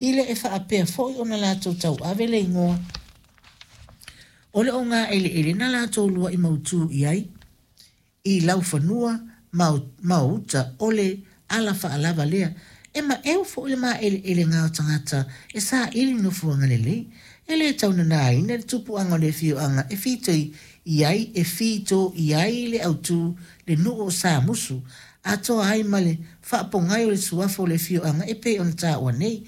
I le e faapea foi ona latou tauave le igoa o le ogaeleele na latou luaʻi mautū i ai i laufanua ma o uta o le ala faalava lea. E maeu foi le maeleelega o tagata e saili nofoaga lelei. E le tau nanaina le tupuaga o le afioaga e fito i ai e fito i ai le autū le nuu o Samusu, atoa ai ma le faapogai o le suafa o le afioaga e pei ona taua nei.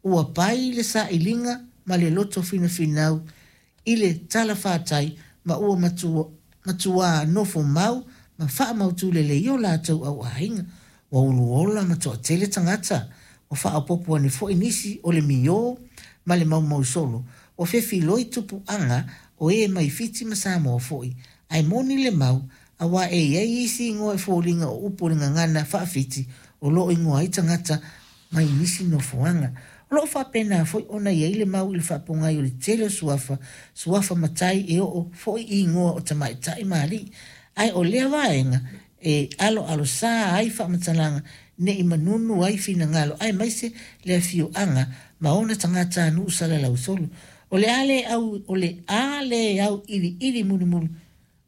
Ua pai le sailiga ma le loto finafinau i le talafatai ma ua matuā nofo mau ma faamautū lelei o latou auaiga. Ua uluola ma toatele tagata, ua faaopoopo ane foi nisi o le miō ma le maumausolo, ua fefiloi tupuaga o e mai Fiti ma Samoa foi. Ae moni le mau, auā e i ai isi igoa e foliga o upu o le gagana faa-Fiti o lo o igoa ai tagata mai nisi nofoaga. O lo o faapena foi ona i ai le mau i le faapogai o le tele o suafa, suafa matai e oo foi i igoa o tamaitai ma alii. Ae o lea vaega e aloalosā ai faamatalaga ne i manunu ai finagalo aemaise le afioaga ma ona tagatanuu salalausolo. O le a le au, o le a le auiliili mulimuli,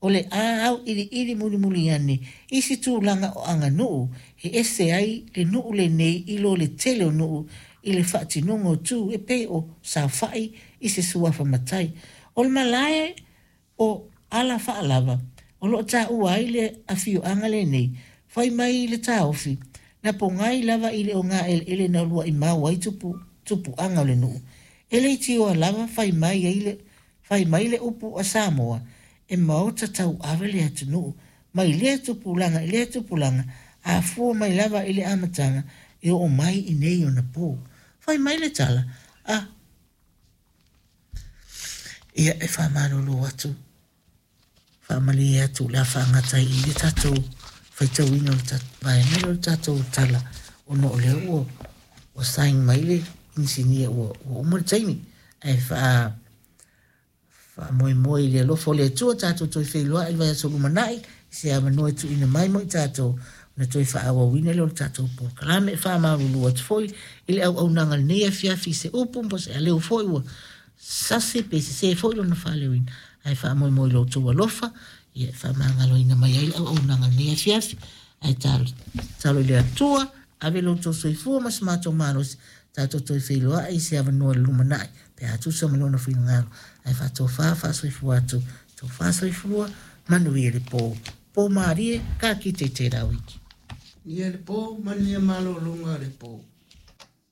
o le a auiliili mulimuli ane i se tulaga o aganuu e ese ai le nuu lenei i lo le tele o nuu i le faatinoga o tu e pei o saofai i se suafa matai. O le malae o Alafaalava o lo o taua ai le afioaga lenei, fai mai le taofi, na pogai lava i le ogaeleele na uluai mau ai tupu, tupuaga o le nuu. E leitioa lava fai mai ai le, fai mai le upu a Samoa, e maota tauave le atunuu, mai lea tupulaga i lea tupulaga, a fua mai lava i le amataga e oo mai i nei ona pō. Fai mai le tala, a ia e faamalulu atu, faamalie atu o le a faagata ai i i le tatou faitauina o le vaega lea o le tatou tala ona o lea ua ua sign mai le inisinia ua ua uma le taimi ae faa Faamoemoe i le alofa o le Atua tatou toe feiloai i le vaiaso lumanai i se avanoa e tuuina mai mo i tatou ona toe faaauauina lea o le tatou polokalame. E faamalulu atu foi i le auaunaga i lenei afiafi i se upu po o se aleu foi ua sasi pe sesē foi lona faaleoina, ae faamoemoe i lo outou alofa ia e faamagaloina mai ai le auaunaga i lenei afiafi. Ae tatalo i le Atua, ave lo outou soifua ma so matou malosi tatou toe feiloai i se avanoa i le lumanai pe a tusa ma lona finagalo ae faatofa faasoifua atu, tofa soifua, manuia le po. Po malie, ka kite i tērā wiki. Manuia le po, manuia malologa o le po.